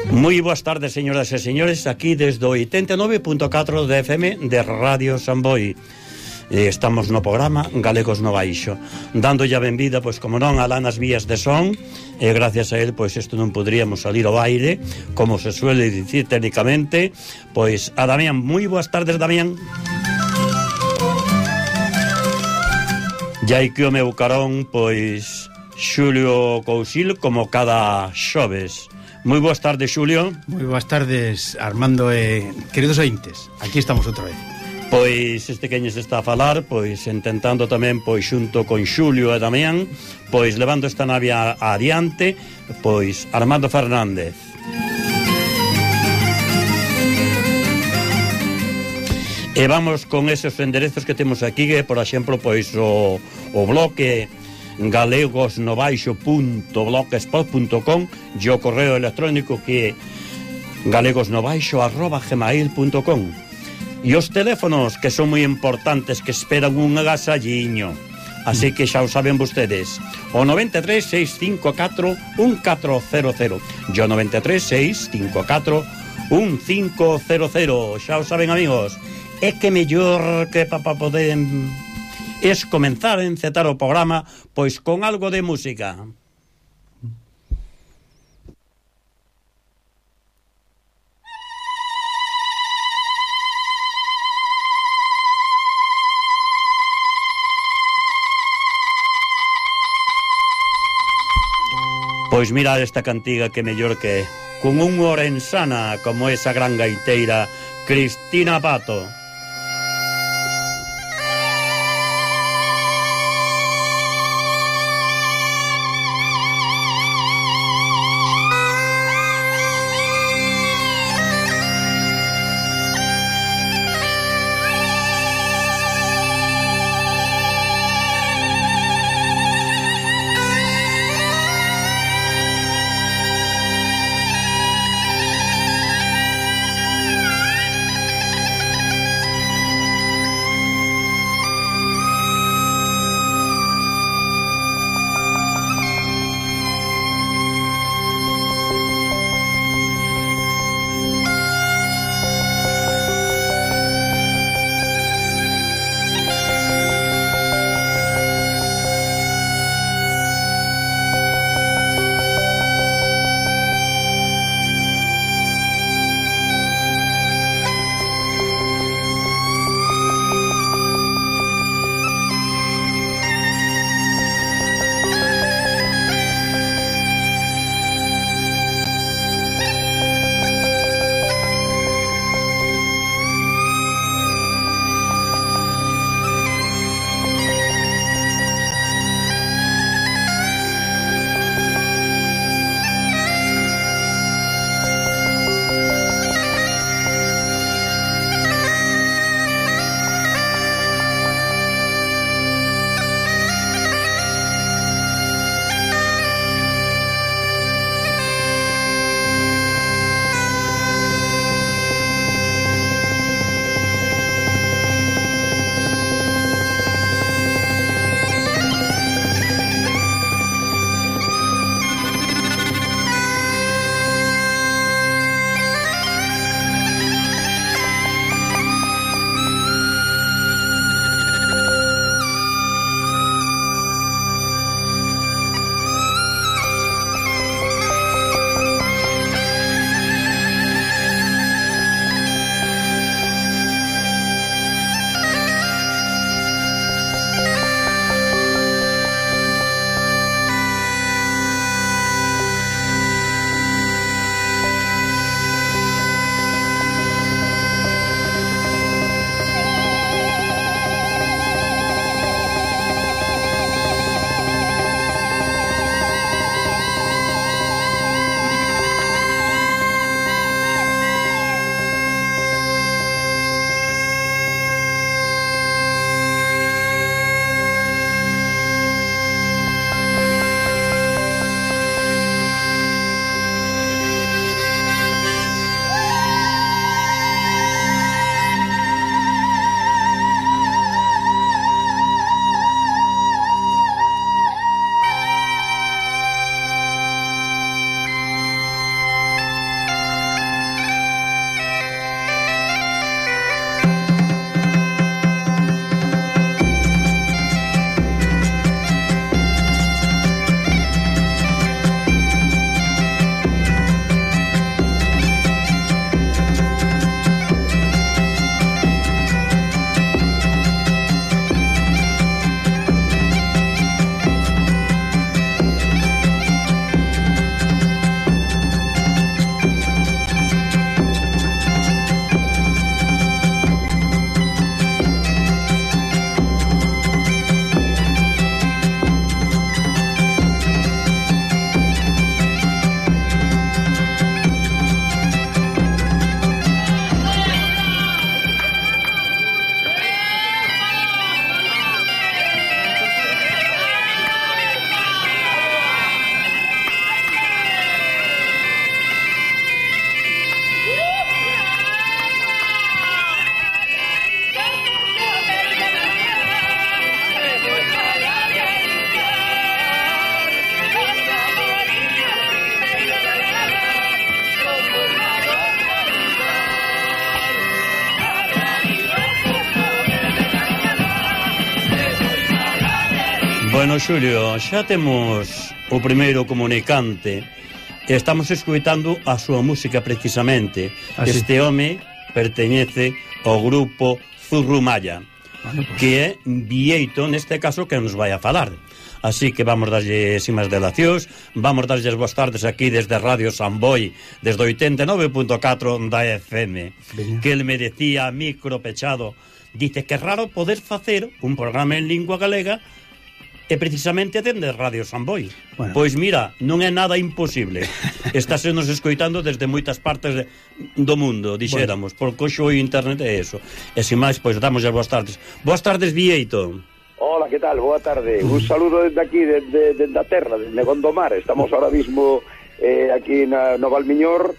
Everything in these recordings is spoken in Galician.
Moi boas tardes, señoras e señores, aquí desde o 89.4 de FM de Radio Samboy. Estamos no programa Galegos no Baixo, dándolle a benvida, pois como non, alá nas vías de son, e gracias a él, pois isto non poderíamos salir ao aire, como se suele dicir técnicamente. Pois a Damián, moi boas tardes, Damián. E hai que o meu carón, pois Xulio Cousil, como cada xoves. Moi boas tardes, Xulio. Moi boas tardes, Armando e queridos ointes. Aquí estamos outra vez. Pois este queñes está a falar, pois intentando tamén, pois xunto con Xulio e Damián, pois levando esta nave adiante, pois Armando Fernández. E vamos con esos enderezos que temos aquí, que por exemplo, pois o bloque galegosnobaixo.blogspot.com e o correo electrónico que é galegosnobaixo@gmail.com. E os teléfonos, que son moi importantes, que esperan un agasalliño, así que xa o saben vostedes, o 93 654 1400 e o 93 654 1500. Xa o saben, amigos. É que mellor que para poder es comenzar a encetar o programa pois con algo de música. Pois mirad esta cantiga, que mellor que con un orensana como esa gran gaiteira Cristina Pato. Bueno, Xulio, xa temos o primeiro comunicante. Estamos escuitando a súa música precisamente. Este home perteñece ao grupo Zurrumalla, que é Vieito, neste caso, que nos vai a falar. Así que vamos darlle sin máis delacións, vamos darlle as boas tardes aquí desde Radio Samboy, desde 89.4 da FM. Que el me decía micro pechado, dice que é raro poder facer un programa en lingua galega e precisamente atende Radio Samboy. Bueno. Pois mira, non é nada imposible. Estáse nos escoitando desde moitas partes do mundo, dixéramos, porque hoxe o internet é eso. E sin máis, pois damos as boas tardes. Boas tardes, Vieito. Hola, que tal? Boa tarde. Un saludo desde aquí, desde a terra, desde Gondomar. Estamos ahora mismo aquí no Valmiñor.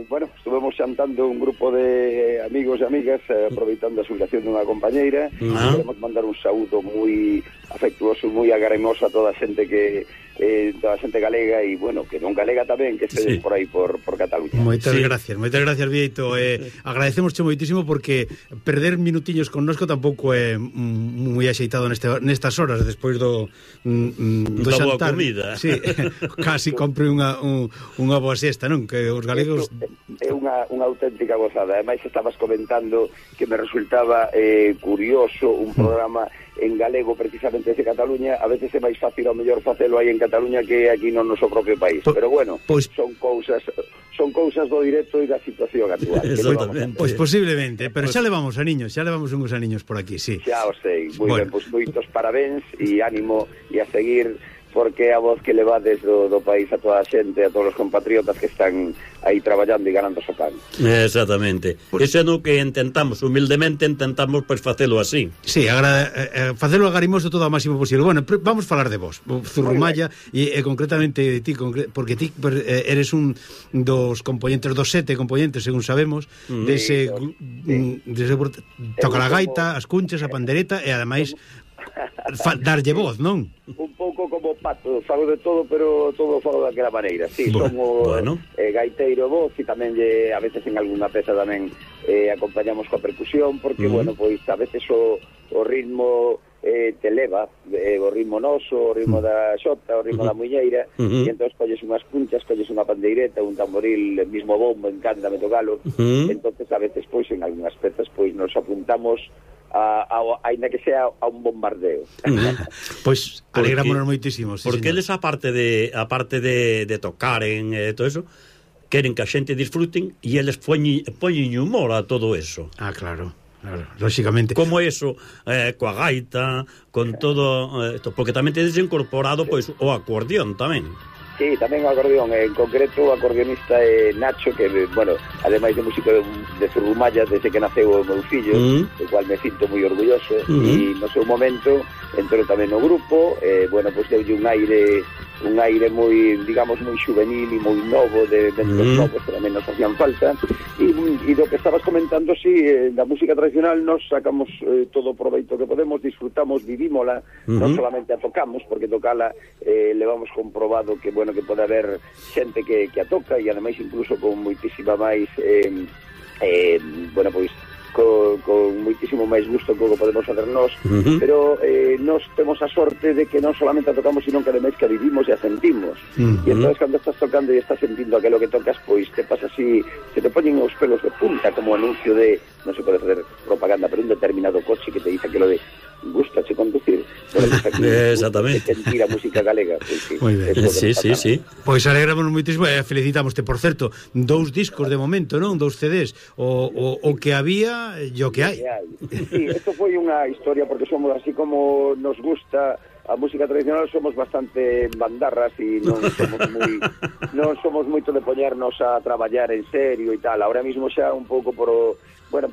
Bueno, estuvemos xantando un grupo de amigos e amigas aproveitando a xubilación dunha compañeira. Queremos mandar un saúdo moi afectuoso, moi agaremoso a toda a xente que toda a xente galega e, bueno, que non galega tamén, que estedes por aí por Cataluña. Moitas gracias, Vieito. Agradecemosche moitísimo porque perder minutiños connosco tampouco é moi axeitado nestas horas despois do xantar. Boa comida. Sí, casi compre unha boa siesta, non? Que os galegos... É unha auténtica gozada. Ademais, estabas comentando que me resultaba curioso un programa en galego precisamente desde Cataluña. A veces é máis fácil ao mellor facelo aí en Cataluña que aquí no noso propio país, pero bueno, son cousas do directo e da situación actual. Exactamente. Pois posiblemente, pero xa levamos uns aniños por aquí, sí. Xa o sei, moi ben, pois moitos parabéns e ánimo e a seguir, porque é a voz que levades do país a toda a xente, a todos os compatriotas que están aí traballando e ganando o pan. Exactamente. Eso é no que humildemente intentamos pois facelo así. Sí, facelo agarimoso todo ao máximo posible. Bueno, vamos falar de vos, Zurrumalla, e concretamente de ti, porque ti eres un dos componentes, dos 7 componentes, según sabemos, dese toca a gaita, as cunchas, a pandereta e ademais darlle voz, non? Un pouco como Pato, fago de todo, pero todo fago daquela maneira. Sí, somos gaiteiro voz e tamén a veces en algunha peza tamén acompañamos coa percusión, porque, bueno, pois a veces o ritmo te leva, o ritmo noso, o ritmo da xota, o ritmo da muñeira, e entón colles unhas punchas, colles unha pandeireta, un tamboril, el mismo bombo, encántame tocalo, entonces a veces, pois, en algunhas pezas, pois, nos apuntamos aínda que sea a un bombardeo. Pois alegrámonos moitísimo. Sí, porque eles, aparte de tocar en todo eso, queren que a xente disfruten e eles poñen humor a todo eso. Claro, lógicamente. Como eso, coa gaita, con todo porque tamén tedes incorporado pois o acordeón tamén. Sí, tamén o acordeón, en concreto o acordeonista é Nacho, que, bueno, ademais de músico de Zurrumalla desde que naceu o meu fillo, do cual me sinto moi orgulloso, e no seu momento entrou tamén no grupo, bueno, pois deulle un aire moi, digamos, moi juvenil e moi novo, de ventos novos que tamén nos hacían falta, e do que estabas comentando, sí, da música tradicional nos sacamos todo o proveito que podemos, disfrutamos, vivímola, non solamente a tocamos, porque tocala levamos comprobado que, bueno, que pode haber xente que a toca, e ademais incluso con moitísima máis bueno, pois con moitísimo máis gusto que o podemos facer nós, pero nós temos a sorte de que non solamente a tocamos, sino que ademais que a vivimos e a sentimos, e entón cando estás tocando e estás sentindo aquilo que tocas, pois te pasa así, se te poñen os pelos de punta, como anuncio de, non se pode facer propaganda, pero un determinado coche que te dice aquilo de gustache conducir, exactamente, sentir a música galega, pois sí. Moi ben. Sí. Pois alegramos moitísimo e felicitámoste. Por certo, 2 discos de momento, non? 2 CDs, o que había e o que hai. Sí, isto foi unha historia, porque somos así como nos gusta a música tradicional, somos bastante bandarras e non somos moito de poñernos a traballar en serio e tal. Ahora mismo xa un pouco pola boa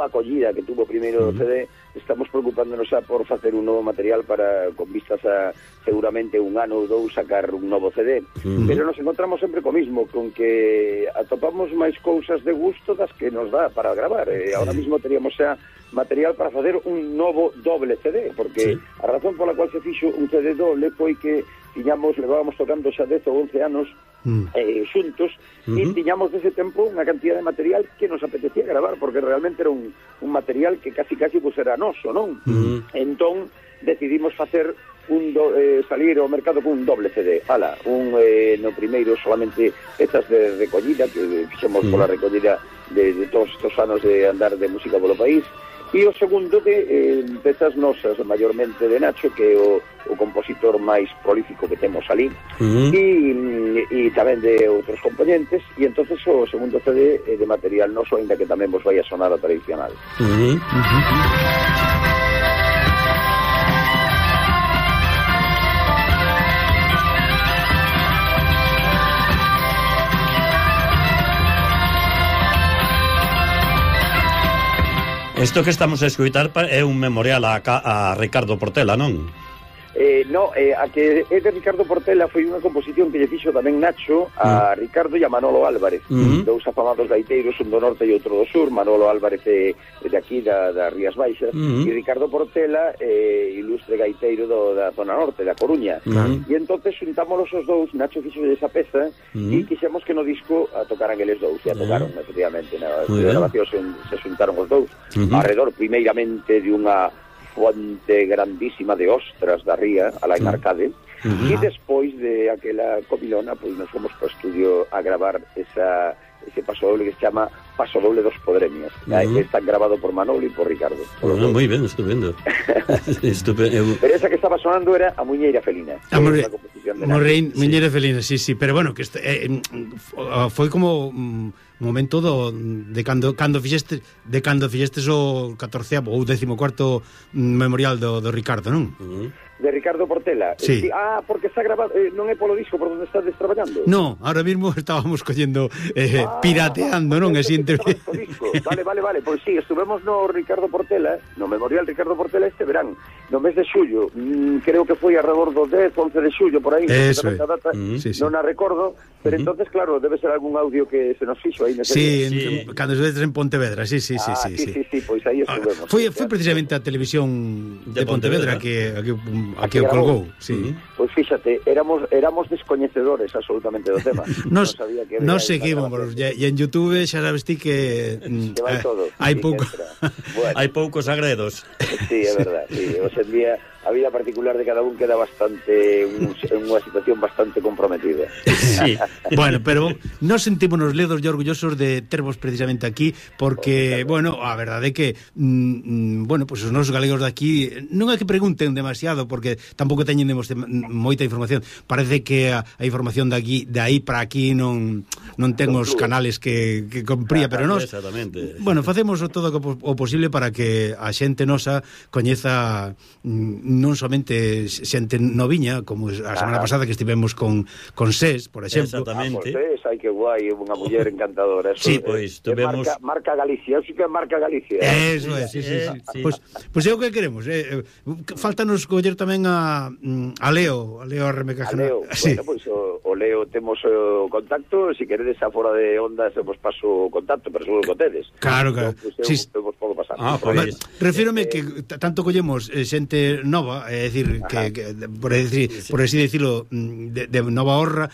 acollida que tuvo o primeiro CD, estamos preocupándonos xa por facer un novo material con vistas a seguramente un ano ou 2 sacar un novo CD, pero nos encontramos sempre co mismo, con que atopamos máis cousas de gusto das que nos dá para gravar. Ahora mismo teríamos xa material para facer un novo doble CD, porque a razón pola cual se fixo un CD doble foi que levábamos tocando xa 10 ou 11 anos xuntos, e tiñamos desde tempo unha cantidad de material que nos apetecía gravar, porque realmente era un material que casi pues era noso, non? Entón decidimos facer salir ao mercado con un doble CD. No primeiro solamente pezas de recollida que fixemos pola recollida de todos estes anos de andar de música polo país, e o segundo de pezas nosas, mayormente de Nacho, que é o compositor máis prolífico que temos ali, e tamén de outros componentes, e entonces o segundo CD de material noso, ainda que tamén vos vai a sonar a tradicional. Isto que estamos a escutar é un memorial a Ricardo Portela, non? A que é de Ricardo Portela foi unha composición que lle fixo tamén Nacho a Ricardo e a Manolo Álvarez, dous afamados gaiteiros, un do norte e outro do sur. Manolo Álvarez é de aquí, da Rías Baixas, e Ricardo Portela ilustre gaiteiro da zona norte, da Coruña. E entonces xuntámolos os dous, Nacho fixo esa peza, e quixemos que no disco a tocaran eles dous, e a tocaron, efectivamente, na grabación se xuntaron os dous, alrededor primeiramente de unha fonte grandísima de ostras da ría, alá en Arcade, e despois de aquela comilona, pois nos fomos para o estudio a gravar ese paso doble que se chama Paso Doble dos Podremias. Está grabado por Manolo e por Ricardo. Moi ben, estupendo. Pero esa que estaba sonando era A Muñeira Felina. Muñeira Felina, sí, pero bueno, que foi como momento de cando fixestes o 14º ou 14º memorial do Ricardo, non? De Ricardo Portela. Sí. Porque está grabado, non é polo disco por onde estás traballando? No, ahora mismo estábamos collendo pirateando, non? Vale, pois sí, estuvemos no Ricardo Portela, no memorial Ricardo Portela este verán, no mes de xullo, creo que foi alrededor do 10, 11 de xullo, por aí, data, non a recordo, pero entonces, claro, debe ser algún audio que se nos fixo aí nese día. Cando estes en Pontevedra, sí, pois aí estuvemos. Foi precisamente a televisión de Pontevedra que o colgou, sí. Pois fíxate, éramos descoñecedores absolutamente do tema. Nos seguimos, e en YouTube xa sabes ti que hai poucos agredos. Sí, é verdad, sí. Hoxe en día a vida particular de cada un queda bastante unha situación bastante comprometida. Sí. Bueno, pero nos sentímonos ledos e orgullosos de tervos precisamente aquí, porque, bueno, a verdade é que pues os nosos galegos de aquí non é que pregunten demasiado, porque tampouco teñen moita información. Parece que a información de aí para aquí non ten os canales que compría, pero nós, bueno, facemos todo o posible para que a xente nosa coñeza non somente xente noviña, como a semana pasada que estivemos con SES, por exemplo. Exactamente. SES, ai que guai, unha muller encantadora. Sí, pois tuvemos marca Galicia, eu sei que é marca Galicia. Eso é, sí. Pois é o que queremos, faltanos coller tamén a Leo Armecaja. Leo, bueno, pois o Leo temos o contacto, se queredes a fora de onda se vos paso o contacto, pero seguro que tedes. Claro. Eu vos podo pasar. Refírome que tanto collemos xente nova, é dicir, que por así decirlo, de nova horra,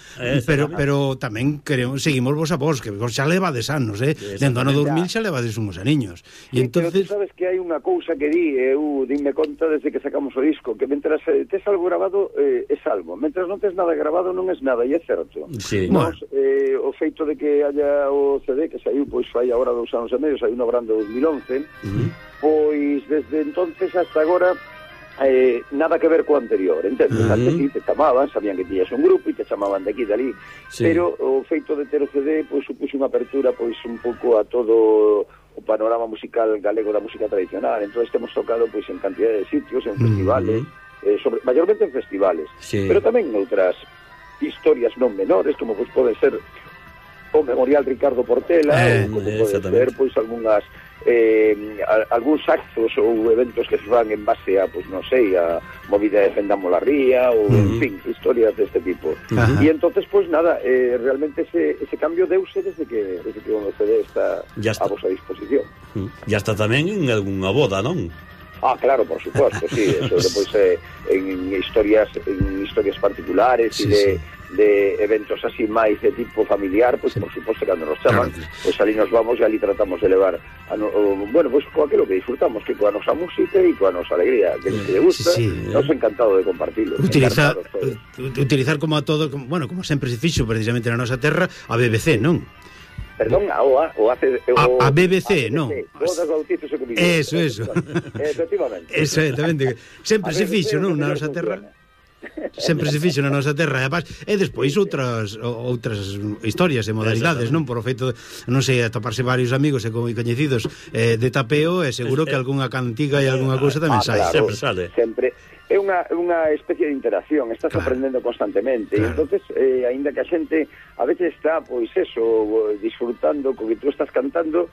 pero tamén seguimos vos a vos, que vos xa levades anos, dentro ano 2000 xa levades uns aniños. E entonces, pero tú sabes que hai unha cousa que eu dime conta desde que sacamos o disco, que mentras tes algo grabado é algo, mentras non tes nada grabado non es nada, e é certo. Sí. O feito de que haya o CD que saiu, pois fai agora 2 anos e medio, saiu no verán de 2011, pois desde entonces hasta agora nada que ver co anterior, entendes? Antes sí te chamaban, sabían que tiñas un grupo e te chamaban de aquí de ali, pero o feito de ter o CD pois supuxo unha apertura pois un pouco a todo o panorama musical galego da música tradicional. Entonces temos tocado pois en cantidad de sitios, en festivales, mayormente en festivales, pero tamén en outras historias non menores, como pois pode ser o Memorial Ricardo Portela, ou como pode ser pois algúns actos ou eventos que se van en base a, pois non sei, a movida de Defendamos la Ría ou, en fin, historias deste tipo. E entonces, pois nada, realmente ese cambio deuse desde que o CD está a vosa disposición. E hasta tamén en algunha boda, non? Claro, por suposto, sí, eso depois en historias particulares e de eventos así máis de tipo familiar, pois por suposto cando nos chaman, pois ali nos vamos e ali tratamos de levar bueno, pois coa aquilo que disfrutamos, que coa nosa música e coa nosa alegría, que lle gusta, nos encantado de compartilo. Utilizar como a todo, bueno, como sempre se fixo precisamente na nosa terra, a BBC, non? Perdón, a BBC, non? Bodas, bautizos e comidas. Eso. Efectivamente. Exactamente. Sempre se fixo, non, na nosa terra. Sempre se fixo na nosa terra e despois outras historias e modalidades, non? Por o feito, non sei, atoparse varios amigos e coñecidos de tapeo, e seguro que algunha cantiga e algunha cousa tamén sai. Claro, sempre sale. Sempre. É unha especie de interacción, estás aprendendo constantemente, e entonces, aínda que a xente a veces está, pois eso, disfrutando co que tú estás cantando,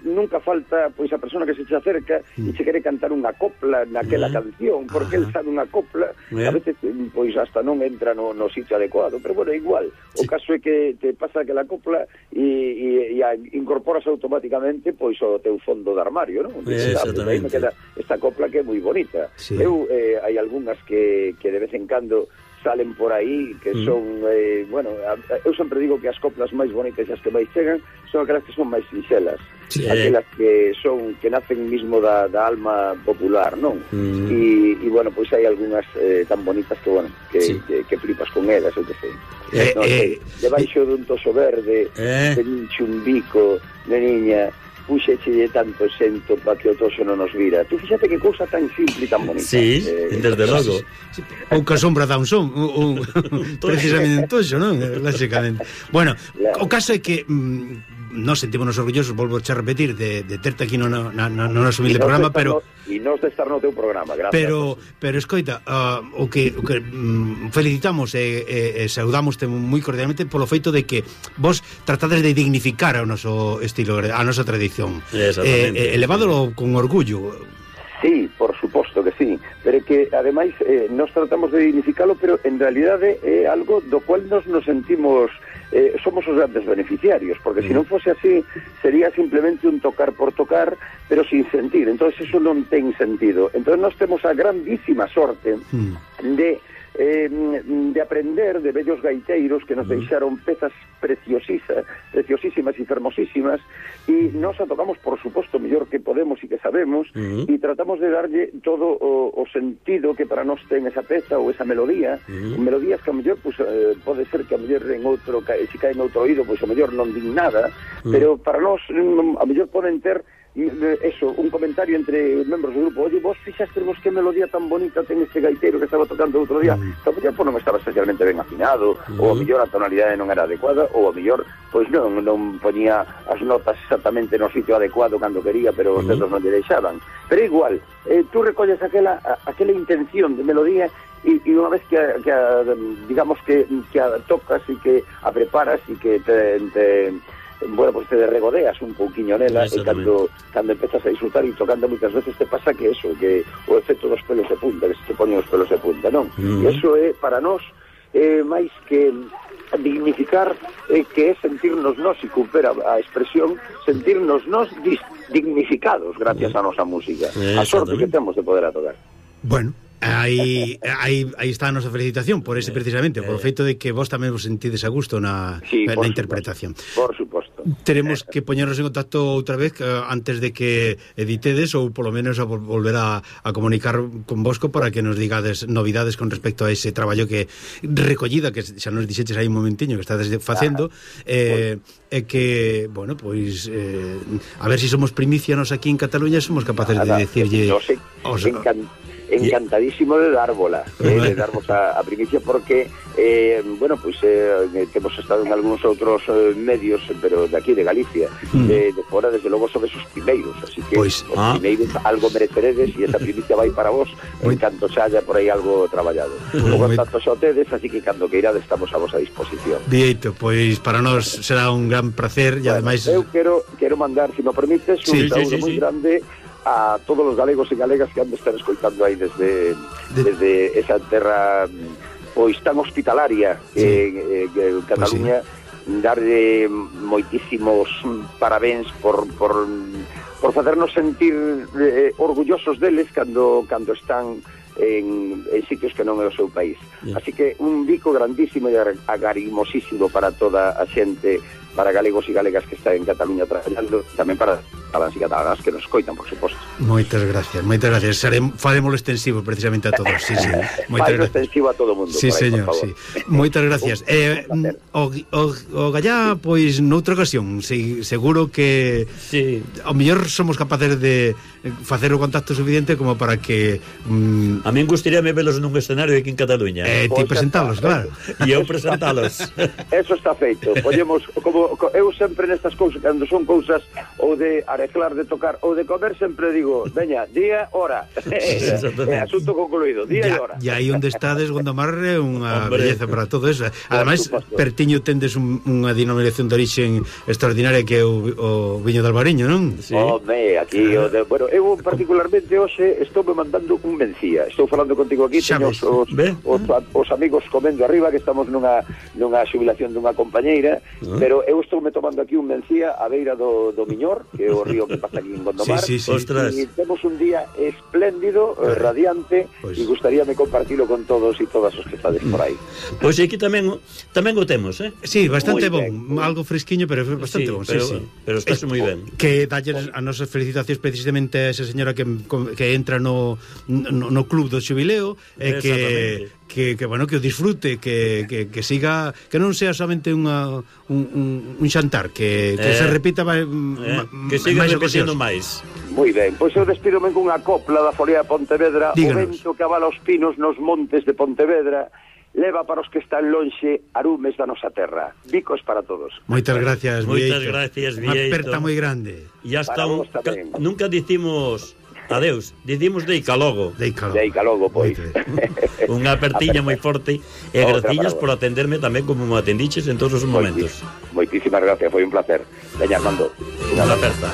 nunca falta, pois, a persona que se te acerca e se quere cantar unha copla naquela canción, porque el sabe unha copla, a veces, pois, hasta non entra no sitio adecuado, pero bueno, igual, o caso é que te pasa aquela copla e incorporas automáticamente, pois, o teu fondo de armario, non? Exactamente. Aí me queda esta copla que é moi bonita. Eu, hai algunhas que de vez en cando salen por aí, que son, bueno, eu sempre digo que as coplas máis bonitas e as que máis chegan son aquelas que son máis sinxelas, aquelas que nacen mismo da alma popular, non? E bueno, pois hai algunhas tan bonitas que, bueno, que flipas con elas, eu que sei. Debaixo dun toso verde, un chumbico de niña, puxeche tanto xento para que o toso non nos vira. Tú fíxate que cousa tan simple e tan bonita. Sí, desde logo. Pouca sombra dá un son, precisamente en toxo, non? Lógicamente. Bueno, o caso é que nos sentímonos orgullosos, volvo a repetir, de terte aquí no noso humilde programa, pero... E nos de estar no teu programa, gracias. Pero escoita, o que felicitamos e saudámoste moi cordialmente polo feito de que vos tratades de dignificar o noso estilo, a nosa tradición. Elevádolo con orgullo. Sí, por suposto que sí, pero que ademais nos tratamos de dignificalo, pero en realidade é algo do cual nos sentimos somos os grandes beneficiarios, porque se non fose así sería simplemente un tocar por tocar, pero sin sentir. Entonces eso non ten sentido. Entonces nós temos a grandísima sorte de aprender de bellos gaiteiros que nos deixaron pezas preciosísimas e fermosísimas, e nos a tocamos, por suposto, mellor que podemos e que sabemos, e tratamos de darlle todo o sentido que para nós ten esa peza ou esa melodía, melodías que a mellor pues, pode ser que a mellor en outro, se cae en outro oído, pois a mellor non din nada, pero para nós a mellor poden ter eso, un comentario entre membros do grupo. Oye, vos fixastevos que melodía tan bonita ten este gaiteiro que estaba tocando outro día. A mellor non estaba especialmente ben afinado, ou a mellor a tonalidade non era adecuada, ou a mellor pois non poñía as notas exactamente no sitio adecuado cando quería, pero os dedos non lle deixaban. Pero igual, tú recolles aquela intención de melodía e unha vez que digamos que a tocas e que a preparas e que bueno, pues te regodeas un pouquiño nela, e cando empezas a disfrutar e tocando moitas veces te pasa que eso, que o efecto dos pelos de punta, que se te poñen os pelos de punta, non? E eso é para nós máis que dignificar, que é sentirnos nós, e coopera a expresión, sentirnos nós dignificados gracias a nosa música, a sorte que temos de poder a tocar. Bueno, aí está a nosa felicitación por ese precisamente, por o feito de que vos tamén vos sentides a gusto na interpretación. Por suposto. Teremos que poñernos en contacto outra vez antes de que editedes, ou polo menos a volver a comunicar con vosco para que nos digades novidades con respecto a ese traballo que recollida, que xa nos dixeches aí un momentiño que estades facendo, e que, bueno, pois a ver se somos primicianos aquí en Cataluña, somos capaces de decirlle encantadísimo de dárbola, de darmos a primicia, porque bueno, pues hemos estado en algunos outros medios, pero de aquí, de Galicia, de fora, desde logo, son esos primeiros, así que os primeiros algo mereceredes, e esa primicia vai para vos en canto xa haya por aí algo traballado. Logo tanto xa o tedes, así que cando que irades estamos a vosa disposición. Dieito, pois para nós será un gran placer, e ademais eu quero mandar, se me permites, un saúdo moi grande a todos os galegos e galegas que han de estar escoitando aí desde esa terra pois tan hospitalaria que Cataluña, darlle moitísimos parabéns por facernos sentir orgullosos deles cando están en sitios que non é o seu país. Así que un bico grandísimo e agarimosísimo para toda a xente, para galegos e galegas que están en Cataluña traballando, tamén para cataláns e catalanas que nos coitan, por suposto. Moitas gracias. Faremoslo extensivo precisamente a todos. Sí. Moitas gracias. Extensivo a todo o mundo. Sí, señor, sí. Moitas gracias. O Gallá, pois, noutra ocasión, seguro que ao mellor somos capaces de facer o contacto suficiente como para que... A min gustaríame velos nun escenario aquí en Cataluña. Ti presentalos, claro. E eu presentalos. Eso está feito. Ollemos, como eu sempre nestas cousas, cando son cousas ou de arreglar, de tocar ou de comer, sempre digo, veña, día, hora. Asunto concluído, día e hora. E aí onde estades, Gondomar, é unha belleza para todo eso. Ademais, pertiño tendes unha denominación de origen extraordinaria que é o viño de Albariño, non? Home, aquí, bueno, eu particularmente hoxe estou me mandando un mencía. Estou falando contigo aquí, teño os amigos comendo arriba, que estamos nunha xubilación dunha compañeira, pero eu estou me tomando aquí un mencía a beira do Miñor, que é o río que pasa aquí en Gondomar. E temos un día espléndido, radiante, e gustaríame compartilo con todos e todas os que estades por aí. Pois aquí tamén o temos, Sí, bastante bon, algo fresquiño, pero bastante bon. Pero estás moi ben. Que dalles a nosas felicitacións precisamente a esa señora que entra no club do xubileo, que bueno, que o disfrute, que siga, que non sea somente un xantar, que se repita que siga repetindo máis. Moi ben, pois eu despídome con unha copla da Folea de Pontevedra. Díganos. O vento que avala os pinos nos montes de Pontevedra leva para os que están lonxe arumes da nosa terra. Bicos para todos. Moitas gracias, Vieito. Moitas gracias, Vieito. Unha aperta moi grande. E hasta nunca dicimos adeus, dicimos deica logo. Deica logo, pois. Unha apertiña moi forte e graciñas por atenderme tamén como me atendiches en todos os momentos. Moitísimas gracias, foi un placer. Veña, Armando. Unha aperta.